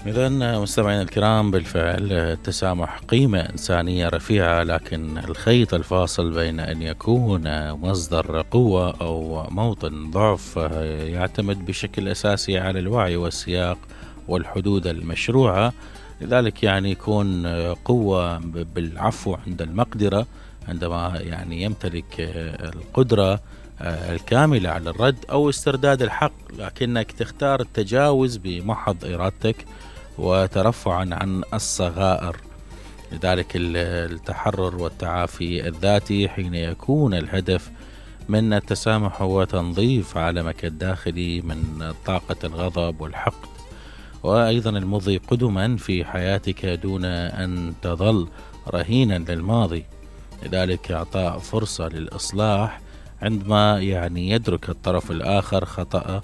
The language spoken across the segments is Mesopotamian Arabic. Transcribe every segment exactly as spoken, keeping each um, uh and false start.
إذا مستمعينا الكرام، بالفعل التسامح قيمة إنسانية رفيعة، لكن الخيط الفاصل بين أن يكون مصدر قوة أو موطن ضعف يعتمد بشكل أساسي على الوعي والسياق والحدود المشروعة. لذلك يعني يكون قوة بالعفو عند المقدرة، عندما يعني يمتلك القدرة الكاملة على الرد أو استرداد الحق، لكنك تختار التجاوز بمحض إرادتك وترفعا عن الصغائر. لذلك التحرر والتعافي الذاتي حين يكون الهدف من التسامح هو تنظيف عالمك الداخلي من طاقة الغضب والحقد، وأيضا المضي قدما في حياتك دون أن تظل رهينا للماضي. لذلك إعطاء فرصة للإصلاح عندما يعني يدرك الطرف الآخر خطأه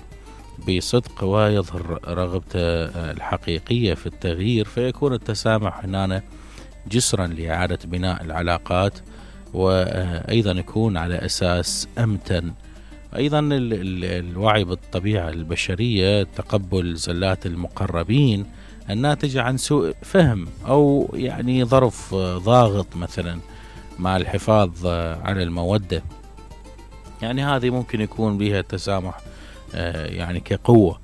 بصدق ويظهر رغبته الحقيقية في التغيير، فيكون التسامح هنا جسرا لإعادة بناء العلاقات، وأيضا يكون على أساس أمتن. أيضا الوعي بالطبيعة البشرية، تقبل زلات المقربين الناتجة عن سوء فهم أو يعني ظرف ضاغط مثلا، مع الحفاظ على المودة. يعني هذه ممكن يكون بها التسامح يعني كقوة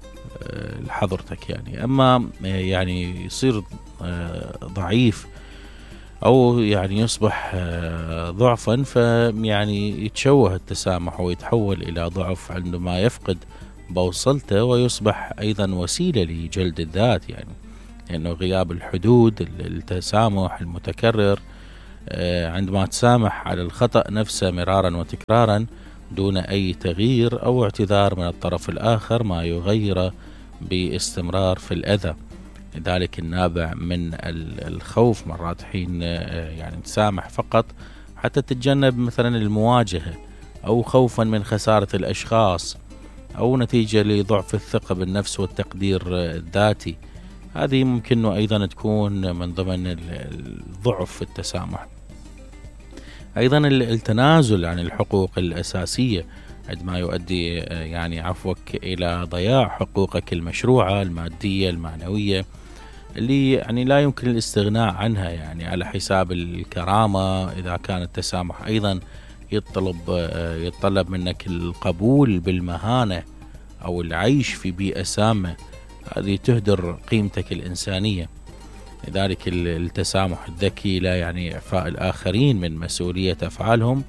لحضرتك. يعني أما يعني يصير ضعيف أو يعني يصبح ضعفا، فيعني يتشوه التسامح ويتحول إلى ضعف عندما يفقد بوصلته، ويصبح أيضا وسيلة لجلد الذات. يعني لأنه غياب الحدود التسامح المتكرر، عندما تسامح على الخطأ نفسه مرارا وتكرارا دون أي تغيير أو اعتذار من الطرف الآخر، ما يغير باستمرار في الأذى. لذلك النابع من الخوف مرات حين يعني تسامح فقط حتى تتجنب مثلا المواجهة، أو خوفا من خسارة الأشخاص، أو نتيجة لضعف الثقة بالنفس والتقدير الذاتي. هذه ممكن أيضا تكون من ضمن الضعف في التسامح. أيضا التنازل عن الحقوق الأساسية عندما يؤدي يعني عفوك إلى ضياع حقوقك المشروعة المادية المعنوية، اللي يعني لا يمكن الاستغناء عنها، يعني على حساب الكرامة. إذا كان التسامح أيضا يطلب يتطلب منك القبول بالمهانة أو العيش في بيئة سامة، هذه تهدر قيمتك الإنسانية. لذلك التسامح الذكي لا يعني إعفاء الآخرين من مسؤولية أفعالهم،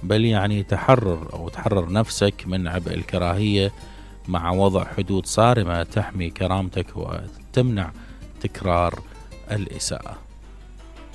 بل يعني تحرر أو تحرر نفسك من عبء الكراهية، مع وضع حدود صارمة تحمي كرامتك وتمنع تكرار الإساءة.